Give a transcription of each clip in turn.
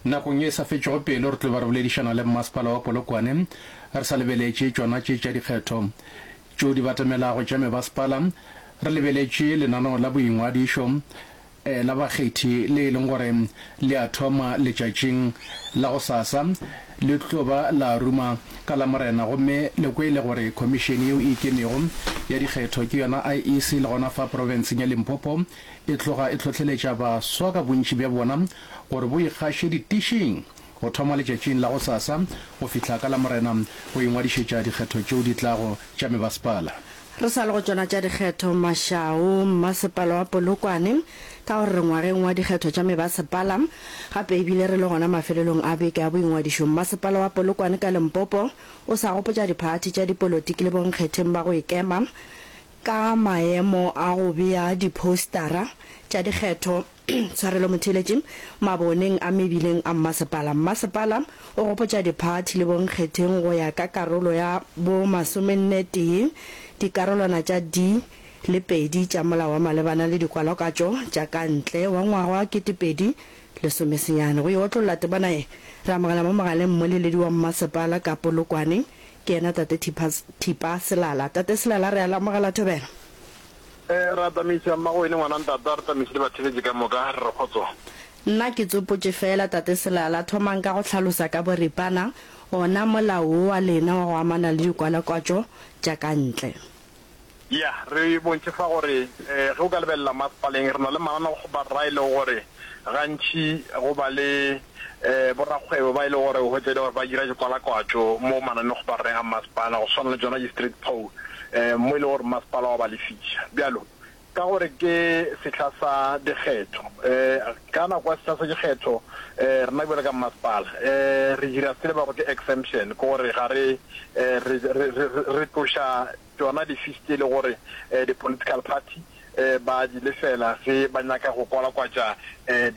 Nakong ye e sa fetšego pelo re tlo ba re boledišana le Mmasepala wa Polokwane re sa lebeletše tšona tše tša dikgetho tšeo di batamelago tša mebasepala re lebeletše lenaneo la boingwadišo la bakgethi le e leng gore le a thoma letšatšing la gosasa le tlo ba la ruma ka Lamorena gomme le kwele gore khomišene yeo e ikemego ya dikgetho ke yona IEC le gona fa profenseng ya Limpopo e tloga e hlohleletša baswa ka bontši bja bona gore bo ikgaše ditišing go thoma letšatšing la gosasa go fihla ka Lamorena go ingwadišetša dikgetho tšeo di tlago tša mebasepala. Re sa le go tšona tša dikgetho, Mashao, Mmasepala wa Polokwane, ka gore re ngwageng wa dikgetho tša mebasepala, gape e bile re le gona mafelelong a beke ya boingwadišo, Mmasepala wa Polokwane ka Limpopo o sa gopotša diphathi tša dipolotiki le bonkgetheng ba go ikema ka maemo a go bea diphoustara tša dikgetho Tshwarelo motheeletši, maboneng a mebileng a mmasepala. Mmasepala o gopotša diphathi le bonkgetheng go ya ka karolo ya bo masomennetee dikarolwana tša D le pedi tša Molao wa malebana le Dikwalokatšo tša ka ntle wa ngwaga wa 2019. Go e otlolla temana ye, re amogela mo mogaleng mmoleledi wa mmasepala ka Polokwane, ke yena Tate Thipa, Thipa Selala. Tate Selala, re a le amogela thobela. Ee, re a tamiša, Mmagowene, ngwana ntate, a re tamiše le batheeletši ka moka, re re kgotso. Nna ke tsopotše feela, Tate Selala, thomang ka go hlalosa ka boripana ona molao wo wa lena wa go amana le dikwalakwatšo tša ka ntle. Ya, re bontšhe fa gore ge o ka lebelela masepaleng re na le mananeo-kgoparara e lego gore gantši go ba le borakgwebo ba e lego gore o hwetša e le gore ba dira dikwalakwatšo mo mananeo-kgoparareng a masepala go swana le tšona di-street pole mo e lego gore masepala wa ba lefiša. Bjalo ka gore ke sehla sa dikgetho, ka nako ya sehla sa dikgetho rena bjalo ka masepala re dira se le ba go ke exemption, ke gore ga re re tloša tšona di-fees tše e le gore di-political party ba di lefela ge ba nyaka go kwalakwatša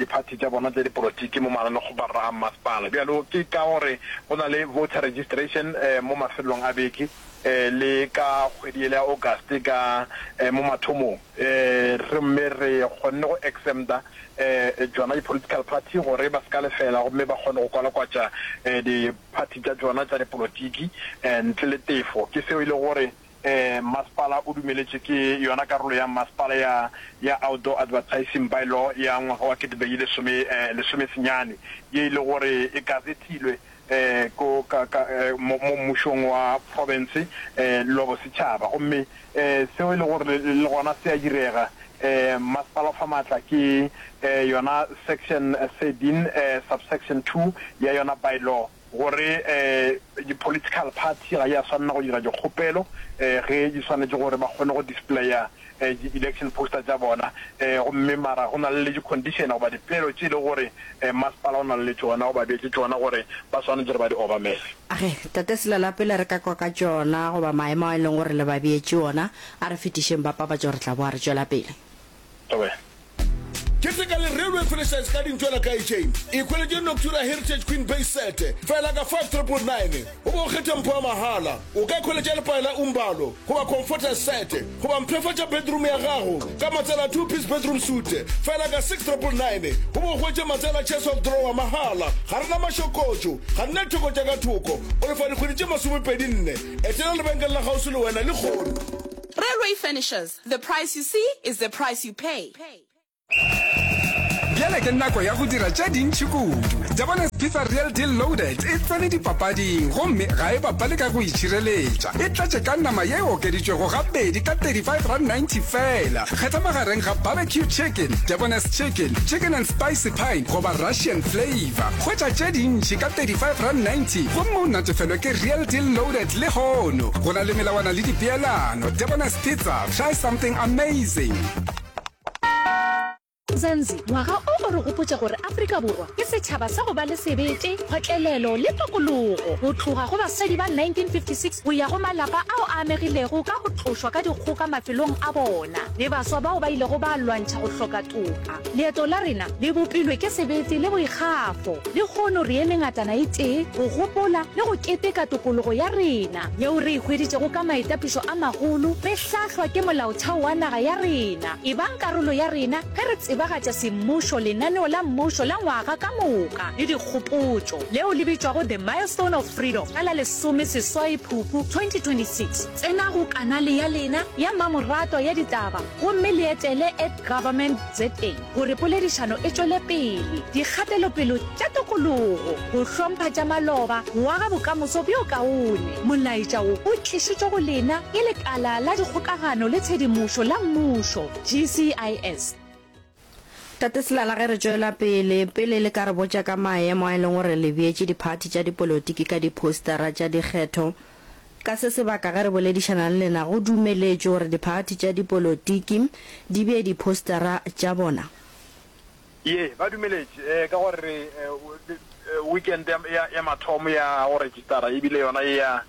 diphathi tša bona tša dipolotiki mo mananekgoparara a mmasepala. Bjalo ke ka gore go na le voter registration mo mafelelong a beke le ka kgwedi yela ya August ka mo mathomong, gomme re kgonne go exempta tšona di-political party gore ba se ka lefela gomme ba kgone go kwalakwatša diphathi tša tšona tša dipolotiki ntle le tefo. Ke seo e lego gore Mmasepala o dumeletše ke yona karolo ya mmasepala ya ya Outdoor Advertising By-law ya ngwaga wa 2019 ye e le gore e gazetilwe ko ka ka mo mo mmušong wa profense le wa bosetšhaba gomme seo e le gore le gona se a direga. Mmasepala o fa maatla ke yona section 13 subsection 2 ya yona by-law. Gore di-political party ga ya swanela go dira dikgopelo ge di swanetše gore ba kgone go displaya di-election poster tša bona, gomme mara go na le di-condition goba dipeelo tše e lego gore masepala o na le tšona goba beetše tšona gore ba swanetše gore ba di obamele. Age, Tate Selala, pele re ka kwa ka tšona goba maemo a e leng gore le ba beetše ona, a re fetišeng ba papatšo re tla boa re tšwela pele. Thobela. Keteka le Railway Furnishers ka dintšo la Kaitšeng. Ikhweletše Noctura Heritage Queen Base Set fela ka 5999 o be o kgethe mpho ya mahala. O ka ikhweletša lepae la Umbalo goba Comforter Set goba mpshafatša bedroom ya gago ka matsela a Two Piece Bedroom Suite fela ka 6999 o be o hwetše matsela a Chest of Drawer mahala. Ga re na mašokotšo, ga re na ditheko tša ka thoko. O lefa dikgwedi tše masomepedi-nne. Etela lebenkele la kgauswi le wena lehono. Railway Furnishers, The price you see is the price you pay. Bjale ke nako ya go dira tše dintši kudu. Debonairs Pizza Real Deal Loaded e tsene dipapading gomme ga e bapale ka go itšhireletša. E tletše ka nama ye e okeditšwego gabedi ka R35.90 feela. Kgetha magareng ga barbecue chicken, Debonairs chicken, chicken and spicy pine goba Russian flavour. Hwetša tše dintši ka R35.90 gomme o natefelwe ke Real Deal Loaded lehono. Go na le melawana le dipeelano. Debonairs Pizza, try something amazing. Mzansi, ngwaga o o re gopotša gore Afrika Borwa ke setšhaba sa go ba le sebete, kgotlelelo le tokologo. Go tloga go basadi ba 1956 go ya go malapa ao a amegilego ka go tlošwa ka dikgoka mafelong a bona le baswa bao ba ilego ba lwantšha go hloka toka. Leeto la rena le bopilwe ke sebete le boikgafo. Lehono re eme ngatana e tee go gopola le go keteka tokologo ya rena yeo re e hweditšego ka maitapišo a magolo re hlahlwa ke Molaotheo wa naga ya rena. Ebang karolo ya rena ge re tsebagatša. tsebagatša semmušo lenaneo la mmušo la ngwaga ka moka le dikgopotšo, leo le bitšwago The Milestone of Freedom ka la lesomesesoai Phupu 2026. Tsena go kanale ya lena ya mmamoratwa ya ditaba gomme le etele at Government ZA gore poledišano e tšwele pele. Dikgatelopelo tša tokologo, go hlompha tša maloba, go aga bokamoso bjo kaone. Molaetša wo o tlišitšwe go lena ke Lekala la Dikgokagano le Tshedimošo la Mmušo, GCIS. Tate Selala ge re tšwela pele, pele le ka re botša ka maemo a e leng gore le beetše diphathi tša dipolotiki ka diphousetara tša dikgetho. Ka se sebaka ge re boledišana le lena go dumeletšwe gore diphathi tša dipolotiki di bee diphousetara tša bona? Ye, ba dumeletše ka gore weekend ya mathomo ya go registara e bile yona ye ya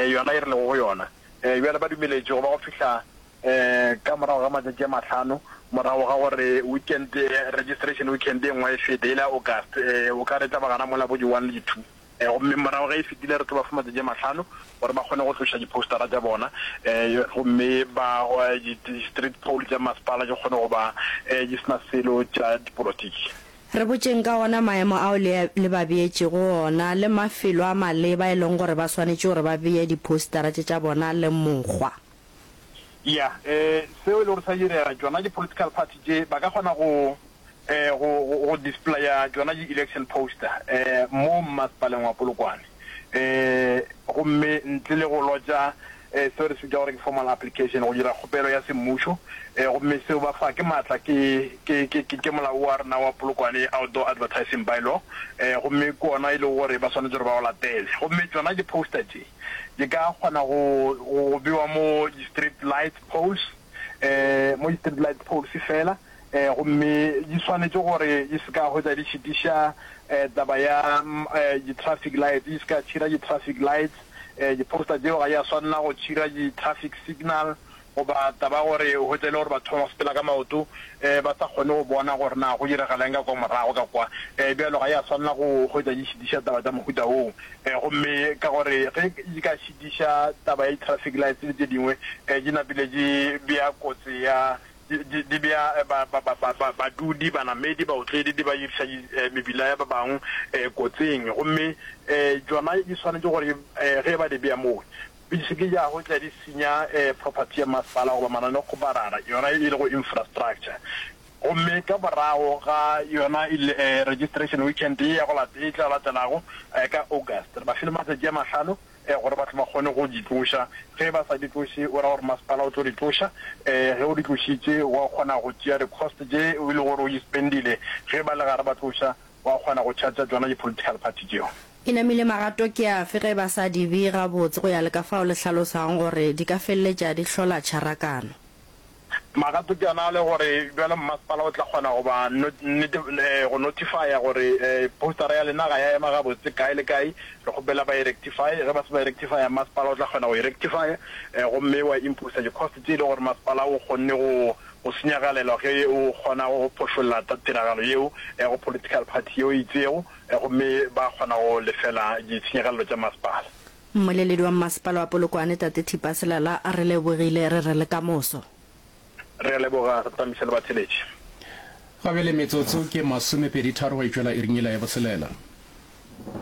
yona e re lego go yona. Bjale ba dumeletše go ba go fihla Ka morago ga matšatši a mahlano morago ga gore weekend, registration weekend e nngwe e fete, e le ya August, o ka re e tla ba gana mola bo di one le di two. Gomme morago ge e fetile re tlo ba fa matšatši a mahlano gore ba kgone go tloša di-postera tša bona, gomme ba di-street pole tša masepala di kgone go ba di se na selo tša dipolotiki. Re botšeng ka ona maemo ao le le ba beetšego ona le mafelo a maleba e leng gore ba swanetše gore ba bee di-postera tše tša bona le mokgwa. Ya, eh, seo e le gore sa direga, tšona di-political party tše ba ka kgona go, eh, go, go, go displaya tšona di-election poster, eh, mo mmasepaleng wa Polokwane. Eh, gomme ntle le go lotša, eh, seo re se bitša gore ke formal application, go dira kgopelo ya semmušo, eh, gomme seo ba fa ke maatla ke, ke, ke, ke, ke molao wa rena wa Polokwane Outdoor Advertising By-law, eh, gomme ke ona e lego gore ba swanetše gore ba o latele. Gomme tšona di-poster tše, Di ka kgona go go bewa mo di-street light poles, mo di-street light poles fela, gomme di swanetše gore di se ka hwetša di šitiša taba ya di-traffic lights, di se ka tšhira di-traffic lights. Di-poster tšeo ga di a swanela go tšhira di-traffic signal Goba taba ya gore o hwetša e le gore batho ba sepela ka maoto ba sa kgone go bona gore na go diragala eng ka kwa morago ka kwa. Bjalo ga ya swanela go hwetša di šitiša taba tša mohuta woo. Gomme ka gore ge di ka šitiša taba ya di-traffic lights le tše dingwe, di napile di bea kotsi ya, di bea badudi, banamedi, baotledi, di ba iriša mebila ya ba bangwe kotsing. Gomme tšona di swanetše gore ge ba di bea moo, Di se ke tša hwetša di senya property ya masepala goba mananeokgoparara, yona e lego infrastructure. Gomme ka morago ga yona registration weekend ye ya go e tla latelago ka August, re ba file matsatši a mahlano gore ba tle ba kgone go di tloša. Ge ba sa di tloše, o ra gore masepala o tlo di tloša. Ge o di tlošitše, wa kgona go tšea di-cost tše e lego gore o di spendile ge ba le gare ba tloša. Wa kgona go charger tšona di political party tšeo. E namile magato ke afe ge ba sa di bee gabotse go ya le ka fao le hlalosago gore di ka feleletša di hlola tšharakano? Magato ke ona a le gore bjalo mmasepala o tla kgona go ba go notifya gore postera ya lena ga ya ema gabotse kae le kae, re kgopela ba e rectify. Ge ba se ba e rectifya mmasepala o tla kgona go e rectifya gomme wa imposer di cost tše e le gore masepala o kgonne go go senyagalelwa ge o kgona go phošolla tiragalo yeo go political party yeo e itšego gomme ba kgona go lefela ditshenyagalelo tša masepala. Mmoleledi wa Mmasepala wa Polokwane Tate Thipa Selala re lebogile re re le ka moso. Re a leboga re tamiše le batheletši. Ga bjale metsotso ke masomepeditharo go e tšwela iring yela ya boselela.